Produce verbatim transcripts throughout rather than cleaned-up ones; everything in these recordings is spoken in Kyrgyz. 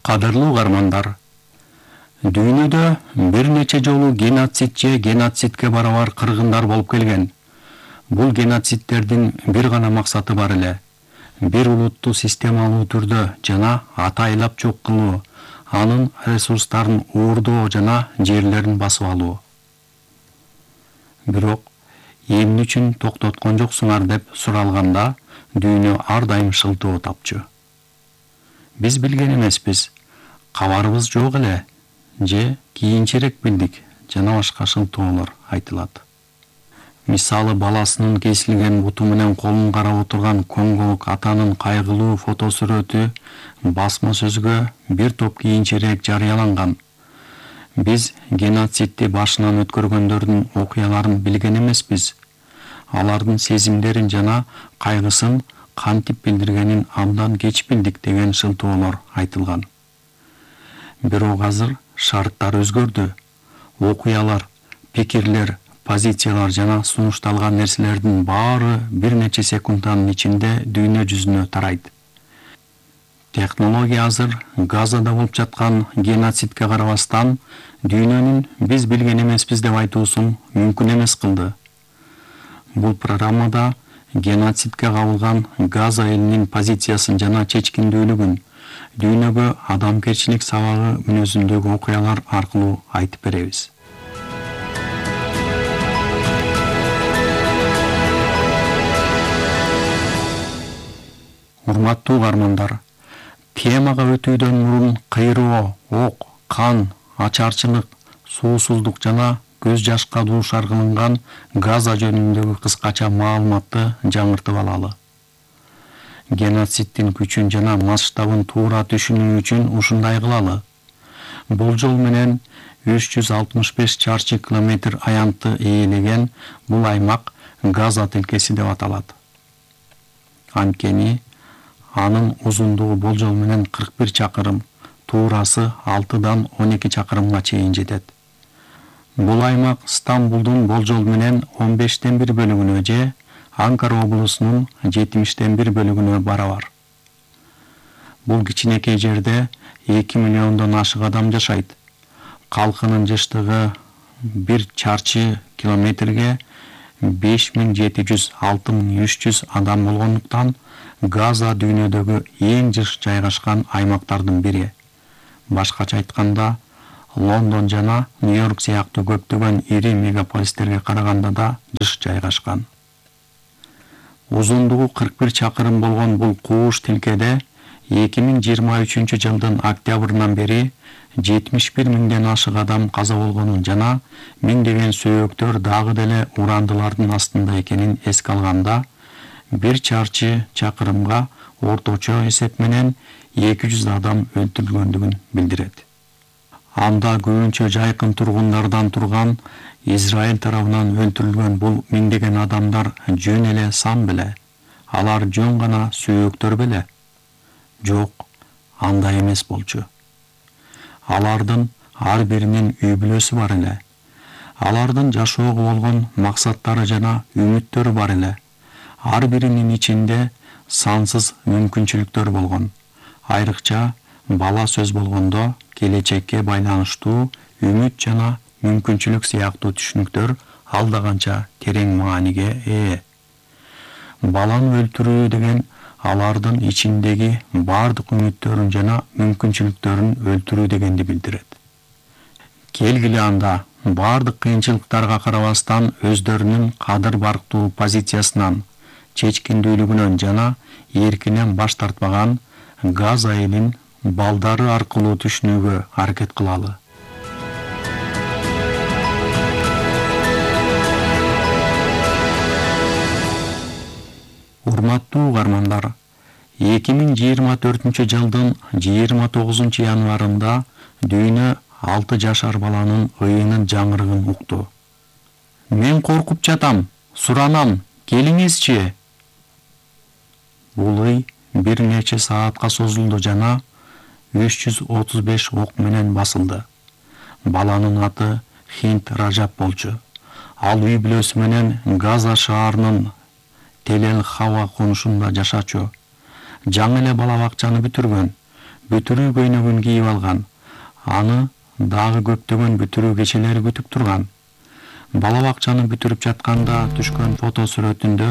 Кадырлуу угармандар, дүйнөдө бир нече жолу геноцид же геноцидке барабар кыргындар болуп келген. Бул геноцидтердин бир гана максаты бар эле: бир улутту системалуу түрдө жана атайлап жок кылуу, анын ресурстарын уурдоо жана жерлерин басып алуу. Бирок эмне үчүн токтоткон жоксуңар деп суралганда, дүйнө ар дайым шылтоо тапчу. Биз билген эмеспиз, кабарыбыз жок эле, же кийинчерээк билдик жана башка шылтоолор айтылат. Мисалы, баласынын кесилген буту менен колун карап отурган конголук атанын кайгылуу фотосүрөтү басма сөзгө бир топ кийинчерээк жарыяланган. Биз геноцидти башынан өткөргөндөрдүн окуяларын билген эмеспиз. Алардын сезимдерин жана кайгысын кантип билдиргенин абдан кеч билдик деген шылтоолор айтылган. Бирок азыр шарттар өзгөрдү. Окуялар, пикирлер, позициялар жана сунушталган нерселердин баары бир нече секундтын ичинде дүйнө жүзүнө тарайт. Технология азыр Газада болуп жаткан геноцидке карабастан дүйнөнүн биз билген эмеспиз деп айтуусун мүмкүн эмес кылды. Бул программада геноцидке кабылган Газа элинин позициясын жана чечкиндүүлүгүн, дүйнөгө адамгерчилик сабагы мүнөзүндөгү окуялар аркылуу айтып беребиз. Урматтуу угармандар, темага өтүүдөн мурун кыйроо, ок, кан, ачарчылык, суусуздук жана көз жашка дуушар кылынган Газа жөнүндөгү кыскача маалыматты жаңыртып алалы. Геноциддин күчүн жана масштабын туура түшүнүү үчүн ушундай кылалы. Болжол менен үч жүз алтымыш беш чарчы километр аянтты ээлеген бул аймак Газа тилкеси деп аталат. Анткени анын узундугу болжол менен кырк бир чакырым, туурасы алтыдан он эки чакырымга чейин жетет. Бул аймак Стамбулдун болжол менен он бештен бир бөлүгүнө же Анкара облусунун жетимиштен бир бөлүгүнө барабар. Бул кичинекей жерде эки миллиондон ашык адам жашайт. Калкынын жыштыгы бир чарчы километрге беш миң жети жүз — алты миң үч жүз адам болгондуктан Газа дүйнөдөгү эң жыш жайгашкан аймактардын бири. Башкача айтканда, Лондон жана Нью-Йорк сыяктуу көптөгөн ири мегаполистерге караганда да жыш жайгашкан. Узундугу кырк бир чакырым болгон бул кууш тилкеде эки миң жыйырма үчүнчү жылдын октябрынан бери жетимиш бир миңден ашык адам каза болгонун жана миңдеген сөөктөр дагы деле урандылардын астында экенин эске алганда, бир чарчы чакырымга орточо эсеп менен эки жүз адам өлтүрүлгөндүгүн билдирет. Анда көбүнчө жайкын тургундардан турган Израиль тарабынан өлтүрүлгөн бул миңдеген адамдар жөн эле сан беле? Алар жөн гана сөөктөр беле? Жок, андай эмес болчу. Алардын ар биринин үй бүлөсү бар эле. Алардын жашоого болгон максаттары жана үмүттөрү бар эле. Ар биринин ичинде сансыз мүмкүнчүлүктөр болгон. Айрыкча бала сөз болгондо келечекке байланыштуу үмүт жана мүмкүнчүлүк сыяктуу түшүнүктөр алда канча терең мааниге ээ. Баланы өлтүрүү деген алардын ичиндеги бардык үмүттөрүн жана мүмкүнчүлүктөрүн өлтүрүү дегенди билдирет. Келгиле анда бардык кыйынчылыктарга карабастан өздөрүнүн кадыр барктуу позициясынан, чечкиндүүлүгүнөн жана эркинен баш тартпаган Газа элин балдары аркылуу түшүнүүгө аракет кылалы. Урматтуу угармандар, эки миң жыйырма төртүнчү жылдын жыйырма тогузунчу январында дүйнө алты жашар баланын ыйынын жаңырыгын укту. Мен коркуп жатам, суранам, келиңизчи. Бул ый бир нече саатка созулду жана үч жүз отуз беш ок менен басылды. Баланын аты Хинт Ражап болчу. Ал үй бүлөсү менен Газа шаарынын Телел Хава конушунда жашачу. Жаңы эле бала бакчаны бүтүргөн. бүтүрүү көйнөгүн кийип алган. Аны дагы көптөгөн бүтүрүү кечелери күтүп турган. Бала бакчаны бүтүрүп жатканда түшкөн фото сүрөтүндө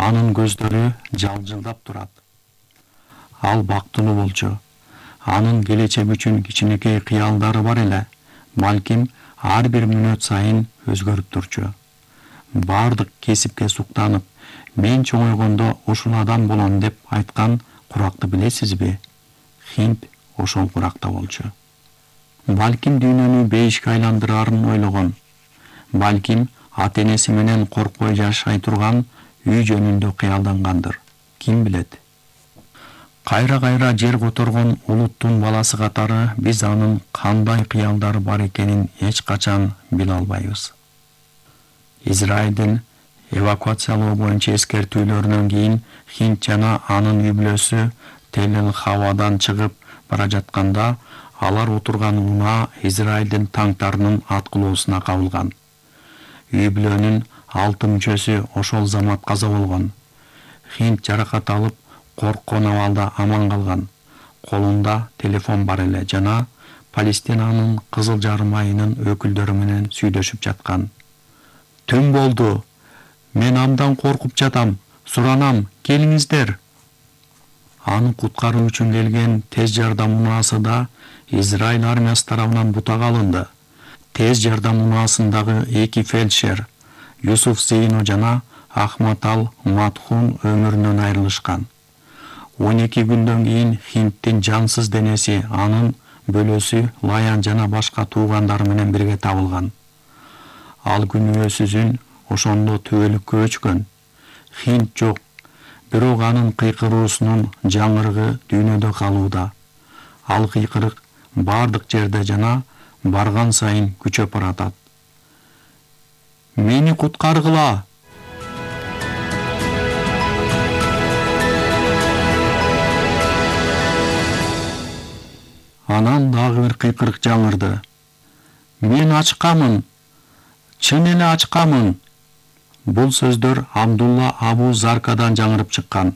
анын көздөрү жалжылдап турат. Ал бактылуу болчу. Анын келечек үчүн кичинекей кыялдары бар эле. Балким ар бир мүнөт сайын өзгөрүп турчу. Бардык кесипке суктанып, мен чоңойгондо ушул адам болом деп айткан куракты билесизби? Хинт ошол куракта болчу. Балким дүйнөнү бейишке айландырарын ойлогон. Балким ата-энеси менен коркпой жашай турган үй жөнүндө кыялдангандыр. Ким билет? Кайра-кайра жер которгон улуттун баласы катары биз анын кандай кыялдары бар экенин эч качан биле албайбыз. Израилдин эвакуациялоо боюнча эскертүүлөрүнөн кийин Хинт жана анын үй бүлөсү Тель-эль-Хавадан чыгып бара жатканда алар отурган унаа Израилдин танктарынын аткылоосуна кабылган. Үй бүлөнүн алты мүчөсү ошол замат каза болгон. Хинт жаракат алып, корккон абалда аман калган. Колунда телефон бар эле жана Палестинанын Кызыл Жарым айынын өкүлдөрү менен сүйлөшүп жаткан. Түн болду. Мен абдан коркуп жатам. Суранам, келиңиздер. Аны куткаруу үчүн келген тез жардам унаасы да Израиль армиясы тарабынан бутага алынды. Тез жардам унаасындагы эки фельдшер Юсуф Зейно жана Ахмат ал Матхун өмүрүнөн айрылышкан. он эки күндөн кийин Хинттин жансыз денеси анын бөлөсү Лаян жана башка туугандары менен бирге табылган. Ал күнөөсүзүн ошондо түбөлүккө өчкөн. Хинт жок, бирок анын кыйкыруусунун жаңырыгы дүйнөдө калууда. Ал кыйкырык бардык жерде жана барган сайын күчөп баратат. Мени куткаргыла! Анан дагы бир кыйкырык жаңырды. Мен ачкамын. Чын эле ачкамын. Бул сөздөр Абдулла Абу Заркадан жаңырып чыккан.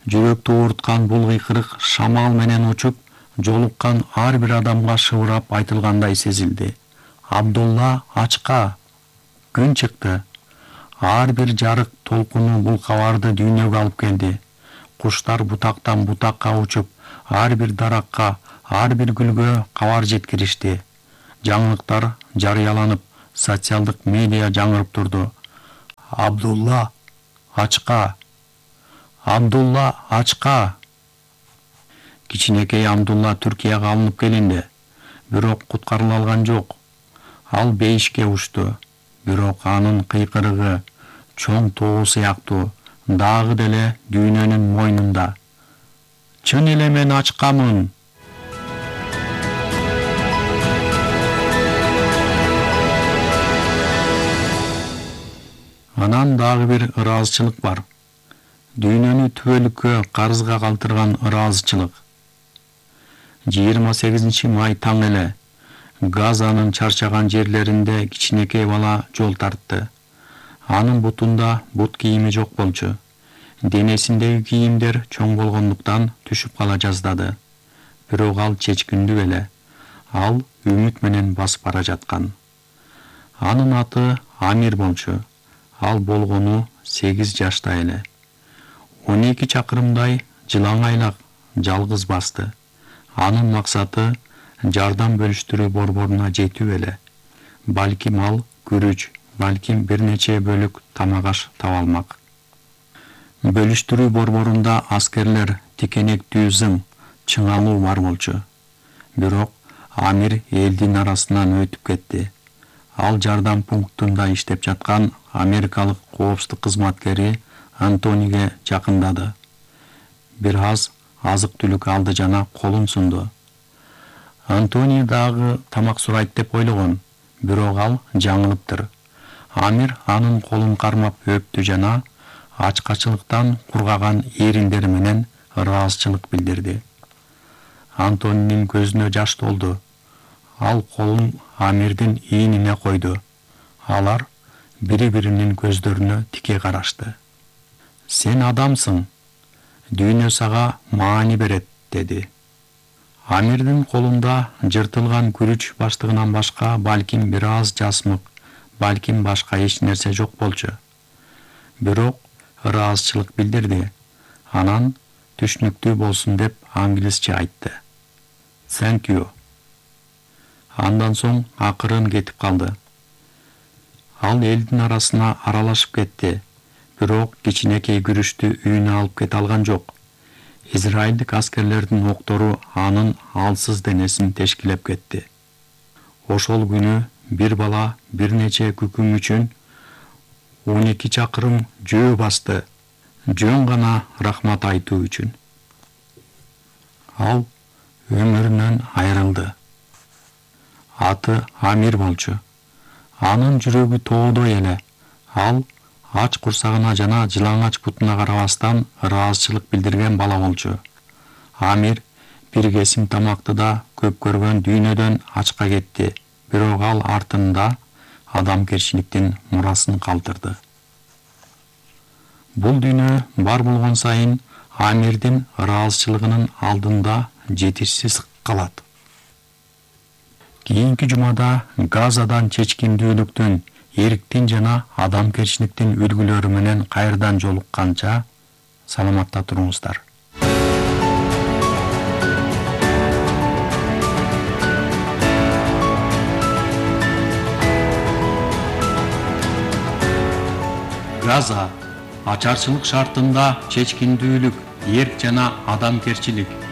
Жүрөктү ооруткан бул кыйкырык шамал менен учуп, жолуккан ар бир адамга шыбырап айтылгандай сезилди. Абдулла ачка. Күн чыкты. Ар бир жарык толкуну бул кабарды дүйнөгө алып келди. Куштар бутактан бутакка учуп, ар бир даракка, ар бир гүлгө кабар жеткиришти. Жаңылыктар жарыяланып, социалдык медиа жаңырып турду. Абдулла ачка. Абдулла ачка. Кичинекей Абдулла Түркияга алынып келинди, бирок куткарыла алган жок. Ал бейишке учту, бирок анын кыйкырыгы чоң тоо сыяктуу дагы деле дүйнөнүн мойнунда. Чын эле мен ачкамын. Анан дагы бир ыраазычылык бар. Дүйнөнү түбөлүккө карызга калтырган ыраазычылык. жыйырма сегизинчи май таң эле Газанын чарчаган жерлеринде кичинекей бала жол тартты. Анын бутунда бут кийими жок болчу. Денесиндеги кийимдер чоң болгондуктан түшүп кала жаздады. Бирок ал чечкиндүү эле. Ал үмүт менен басып бара жаткан. Анын аты Амир болчу. Ал болгону сегиз жашта эле. он эки чакырымдай жылаңайлак жалгыз басты. Анын максаты жардам бөлүштүрүү борборуна жетүү эле. Балким ал күрүч, балким бир нече бөлүк тамак аш таба алмак. Бөлүштүрүү борборунда аскерлер, тикенектүү зың, чыңалуу бар болчу. Бирок Амир элдин арасынан өтүп кетти. Ал жардам пунктунда иштеп жаткан америкалык коопсуздук кызматкери Антониге жакындады. Бир аз азык-түлүк алды жана колун сунду. Антони дагы тамак сурайт деп ойлогон, бирок ал жаңылыптыр. Амир анын колун кармап өптү жана ачкачылыктан кургаган эриндери менен ыраазычылык билдирди. Антонинин көзүнө жаш толду. Ал колун Амирдин ийнине койду. Алар бири-биринин көздөрүнө тике карашты. Сен адамсың. Дүйнө сага маани берет, деди. Амирдин колунда жыртылган күрүч баштыгынан башка балким бир аз жасмык, балким башка эч нерсе жок болчу. Бирок ыраазычылык билдирди. Анан түшүнүктүү болсун деп англисче айтты. Thank you. Андан соң акырын кетип калды. Ал элдин арасына аралашып кетти, бирок кичинекей күрүчтү үйүнө алып кете алган жок. Израилдик аскерлердин октору анын алсыз денесин тешкилеп кетти. Ошол күнү бир бала бир нече күкүң үчүн он эки чакырым жөө басты, жөн гана рахмат айтуу үчүн. Ал өмүрүнөн айрылды. Аты Амир болчу. Анын жүрөгү тоодой эле. Ал ач курсагына жана жылаңач бутуна карабастан ыраазычылык билдирген бала болчу. Амир бир кесим тамакты да көп көргөн дүйнөдөн ачка кетти, бирок ал артында адамгерчиликтин мурасын калтырды. Бул дүйнө бар болгон сайын Амирдин ыраазычылыгынын алдында жетишсиз калат. Кийинки жумада Газадан чечкиндүүлүктүн, эриктин жана адамгерчиликтин үлгүлөрү менен кайрадан жолукканча саламатта туруңуздар. Газа ачарчылык шартында чечкиндүүлүк, эрк жана адамгерчилик